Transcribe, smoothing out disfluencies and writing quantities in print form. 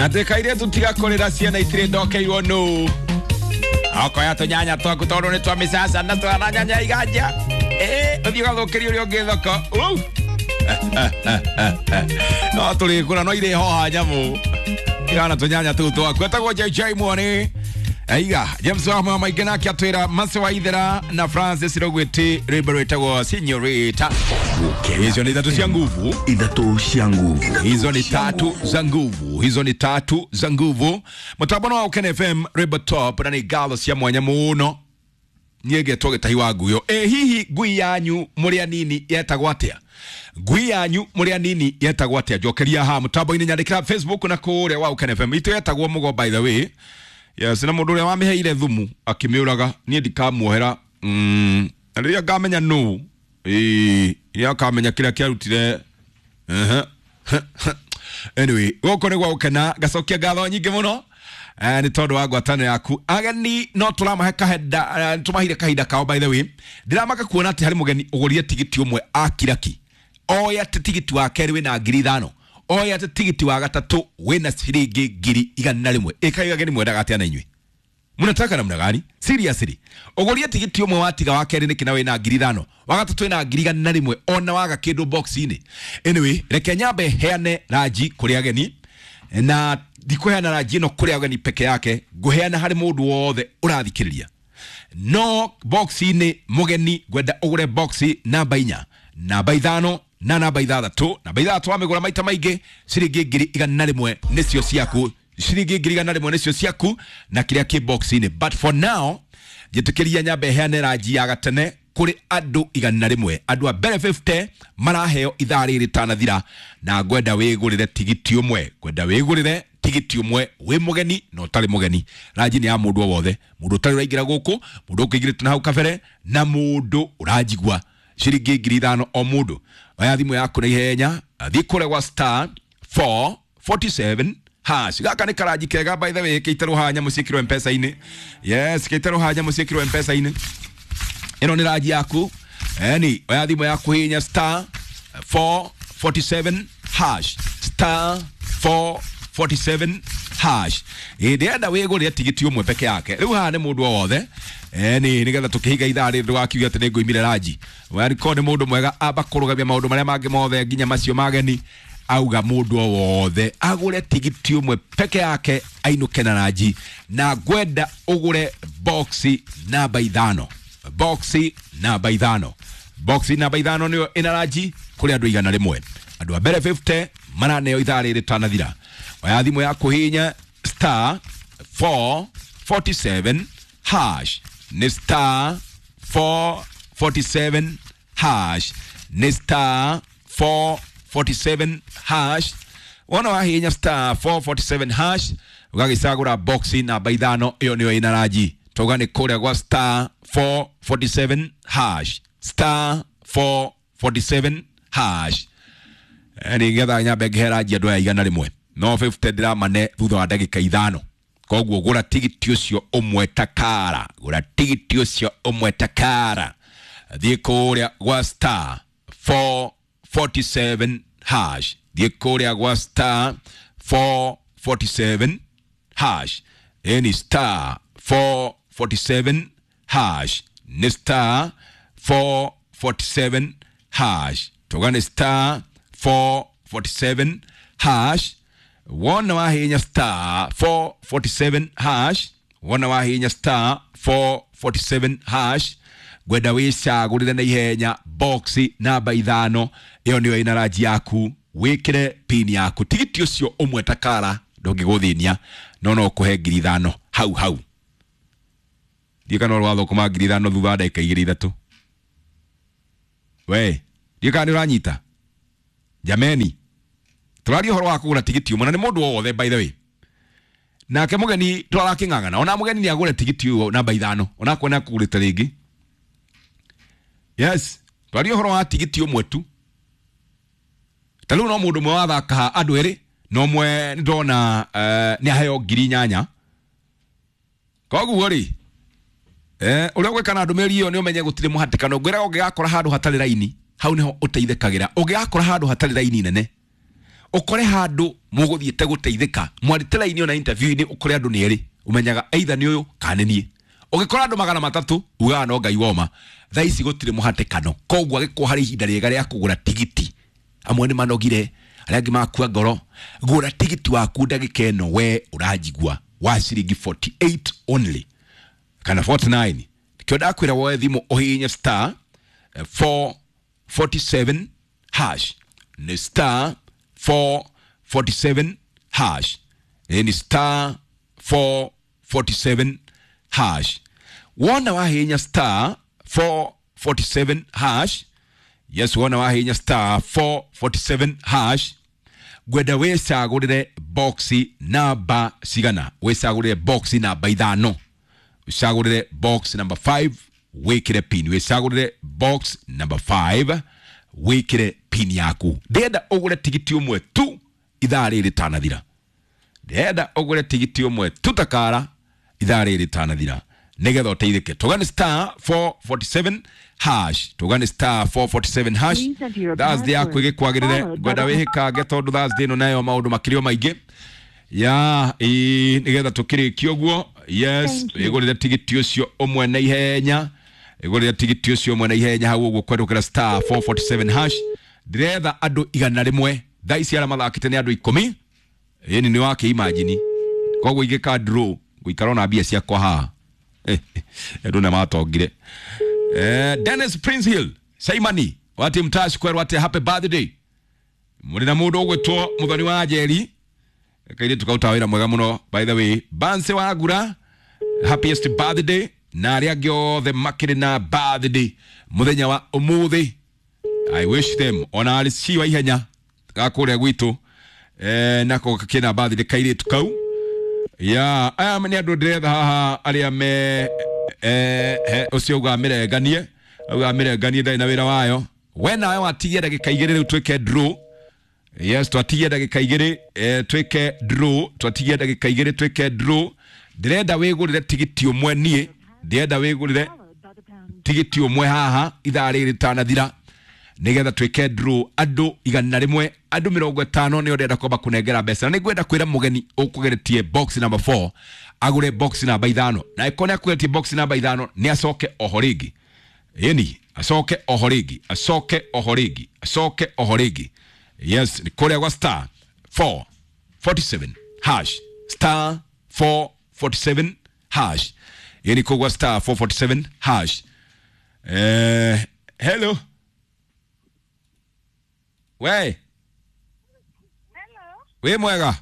Atĩ kairĩtu tiga kũrĩra ciana itirĩ ndokeirwo nũ okoya tũnyanya twaku tondũ nĩ twa mĩcaca na twana nyanya iganja ĩ ũthiĩ ũgathũkĩria ũrĩa ũngĩ thoko. Uu! No tũrĩkũra no irĩ hoha nyamũ igana tũnyanya tũu twaku. Etagwo JJ Mwoni aiga James wa mama maingĩ nake atwĩra Mase wa Ithera na Francis Rogwĩti rwĩmbo rwĩtagwo Señorita. Hizo ni ithatũ cia nguvu. Ithatũ cia nguvu. Hizo ni tatu za nguvu, hizo ni tatu za nguvu. Mutambo wa Ukene FM rwĩmbo top na nĩ ngatho cia mwanya mũno niĩ ngetwo gĩtahi wa nguyo. Ĩ hihi ngui yanyu mũrĩ anini yetagwo atĩa? Ngui yanyu mũrĩ anini yetagwo atĩa? Njokeria haha mũtambo-inĩ, nyandĩkĩra Facebook na kũrĩa wa Ukene FM. Itũ yetagwo Mũgo, by the way. Yes, na mũndũ ũrĩa wamĩheire thumu akĩmĩũraga niĩ ndikamuohera. Na rĩrĩa ngamenya nũ, ĩĩ rĩrĩa akamenya kĩrĩa kĩarutire. Ehe. Anyway, gũkũ nĩ gwa gũkena, ngacokia ngatho nyingĩ mũno nĩ tondũ wa ngwatanĩro yaku. Ageni no tũramahe kahinda, tũmaheire kahinda kao. By the way, ndĩramaka kuona atĩ harĩ mũgeni ũgũrire tigiti ũmwe akiraki oya atĩ tigiti wa kerĩ wĩna 5,000, oya atĩ tigiti wa gatatũ wĩna ciringi 100,000. Ĩkai ageni, mwendaga atĩa na inyuĩ mnataka namna gani? Seriously, ũgũrie tigiti ũmwe watiga wa kerĩ nĩkĩ na wĩna 5,000, wa gatatũ wĩna 100,000, ona waga kĩndũ box-inĩ. Anyway, reke nyambe heane ranji kũrĩ ageni, na ndikũheana ranji ĩno kũrĩ ageni peke yake, ngũheana harĩ mũndũ wothe ũrathikĩrĩria. No box-inĩ mũgeni ngwenda ũgũre box namba 4, namba 5 na namba 6. Namba 6 wamĩgũra maita maingĩ, ciringi 100,000 nĩcio ciaku, ciringi 100,000 nĩcio ciaku na kĩrĩa kĩ box-inĩ. But for now, njĩtĩkĩria nyambe heane ranji ya gatene kũrĩ andũ 100. Andũ a mbere 50 maraheo ithaa rĩrĩ rĩtanathira, na ngwenda wĩgũrĩre tigiti ũmwe, ngwenda wĩgũrĩre tigiti ũmwe wĩ mũgeni na ũtarĩ mũgeni. Ranji nĩ ya mũndũ o wothe, mũndũ ũtarĩ ũraingĩra gũkũ, mũndũ ũkĩingĩrĩte na hau kabere, na mũndũ ũranjigua. Ciringi 5,000 o mũndũ. Oya thimũ yaku na ihenya, thiĩ kũrĩa gwa star 447 hash. Gaka nĩ karanji kega, by the way, kĩitärwo haha nyamũ ciĩkĩrwo mpesa-inĩ. Yes, kĩitärwo haha nyamũ ciĩkĩrwo mpesa-inĩ. Ĩno nĩ ranji yaku. Eni oya thimũ yaku, hihinya star 447 hash, star 447 hash. Ĩ ndĩrenda wĩgũrĩre tigiti ũmwe peke yake rĩu haha nĩ mũndũ o wothe. Eni nĩgetha tũkĩhinga ithaa rĩrĩ ndũgakiuge atĩ nĩ ngũimire ranji. Wariko nĩ mũndũ mwega, amba kũrũgamia maũndũ marĩa mangĩ mothe nginya macio mageni, auga mũndũ o wothe agũre tigiti ũmwe peke yake ainũke na ranji. Na ngwenda ũgũre boxi namba 5, boxi namba 5, boxi namba 5 nĩyo ĩna ranji kũrĩ andũ 100. Andũ a mbere 50 maraneo ithaa rĩrĩ rĩtanathira. Oya thimũ yaku, hihinya star 447 hash, nĩ star 447 hash, nĩ star 447 hash. Wona wahihinya star 447 hash, ũgagĩcagũra boxi namba 5, ĩyo nĩyo ĩna ranji. Tauga nĩ kũrĩa gwa star 447 hash, star 447 hash. Nĩgetha nyambe ngĩhe ranji andũ aya 100, no 50 ndĩramane thutha wa ndagĩka 5. Koguo gũra tigiti ũcio ũmwe takara, gũra tigiti ũcio ũmwe takara, thiĩ kũrĩa gwa star 447 hash, thiĩ kũrĩa gwa star 447 hash. Ĩni star 447 hash, nĩ star 447 hash. Tuga nĩ star 447 hash. Wona wahihinya star 447 hash, wona wahihinya star 447 hash, ngwenda wĩcagũrĩre na ihenya boxi namba 5, ĩyo nĩyo ĩna ranji yaku. Wĩkĩre pin yaku. Tigiti ũcio ũmwe takara ndũngĩgũthĩnia, no no kũhe 5,000 hau hau. Ndiĩ kana ũrwathũkũma 5,000 thutha wa ndagĩka igĩrĩ ithatũ. We ndiĩ kana nĩ ũranyita. Jameni, tũraria ũhoro wa kũgũra tigiti ũmwe na nĩ mũndũ o wothe, by the way. Nake mũgeni tũrarakĩng'ang'ana, ona mũgeni nĩ agũre tigiti ũyũ namba 5, onakorwo nĩ akũgũrĩte rĩngĩ. Yes, twaria ũhoro wa tigiti ũmwe tu. Ta rĩu no mũndũ ũmwe wathaka haha, andũ erĩ, na ũmwe nĩndona nĩ aheo 8,000. Koguo rĩ, ũrĩa ũgwĩka na ndũmĩrĩri ĩyo nĩ ũmenye gũtirĩ mũhatĩkano. Ngwĩraga ũngĩgakora handũ hatarĩ raini, hau nĩho ũteithĩkagĩra. Ũngĩgakora handũ hatarĩ raini nene, Ukore handu muguthiete guteithika mwarite laini ona interview-ini ukore andu ni eri umenyaga either ni uyu kana ni ugikora andu 300 ugaga no Ngai woma. Thaa ici gutire muhatikano, koguo agĩkorwo harĩ ihinda rĩega rĩa kũgũra tigiti. Amwe nĩ manogire, arĩa angĩ makua ngoro. Gũra tigiti waku ndagĩka ĩno we ũranjigua wa ciringi 48 only kana 49. Kĩo ndakwĩra woe thimũ ũhihinye star 447 hash, ni star 447 hash, ni star 447 hash. Wona wahihinya star 447 hash, yes, wona wahihinya star 447 hash, ngwenda wicagũrĩre boxi namba cigana, wicagũrĩre boxi namba 5, wicagũrĩre box number 5 wikire pin, wicagũrĩre box number 5 wikire pin yaku. Ndĩrenda ũgũre tigiti ũmwe tu ithaa rĩrĩ rĩtanathira, ndĩrenda ũgũre tigiti ũmwe tu takara ithaa rĩrĩ rĩtanathira nigetha uteithike. Tugani star 447 hash, tugani star 447 hash. Thursday yaku igikwagirire, ngwenda wihikange tondu Thursday ino nayo maundu makirio maingi ya nigetha tukirikie uguo. Yes, igurire tigiti ucio umwe na ihenya, igurire tigiti ucio umwe na ihenya hau uguo kwendukira star 447 hash. Ndiretha andu 100 thaa ici aria mathakite ni andu 10. Ĩni ni wake imagine koguo ingĩka draw ngũikara na mbia ciakwa haha. Andũ nĩ matongire. Dennis Prince Hill Saimani wati mtashi kwerwo ati happy birthday. Muri na mundu ugwitwo Muthoni wa Njeri kairitu kauta wira mwega muno by the way. Banse wa Ngura happiest birthday na aria angĩ othe makĩrĩ na birthday muthenya wa umuthi. I wish them ona arĩ ciwa ihenya gakũrĩa gwitũ nako kena birthday kairitu kau. Ya aya nĩ andũ ndĩretha haha arĩa me ũcio uga mĩrenganie, uga mĩrenganie ndarĩ na wĩra wayo. We nawe watigia ndagĩka 2 rĩu twĩke draw. Yes, twatigia ndagĩka 2 twĩke draw, twatigia ndagĩka 2 twĩke draw. Ndĩrenda wĩgũrĩre tigiti ũmwe niĩ, ndĩrenda wĩgũrĩre tigiti ũmwe haha ithaa rĩrĩ rĩtanathira nigetha twĩke draw andũ 100, andũ 50 nĩo ndĩrenda kwamba kũnengera mbeca. Na nĩngwenda kwĩra mũgeni ũkũgeretie box number 4 agũre box number 5, na ĩkorwo nĩ akũgeretie box number 5 nĩ acoke oho rĩngĩ. Ĩni acoke oho rĩngĩ, acoke oho rĩngĩ, acoke oho rĩngĩ. Yes, nĩ kũrĩa gwa star 447 hash, star 447 hash. Ĩni kũgwa star 447 hash. Hello. We. Hello. We mwega.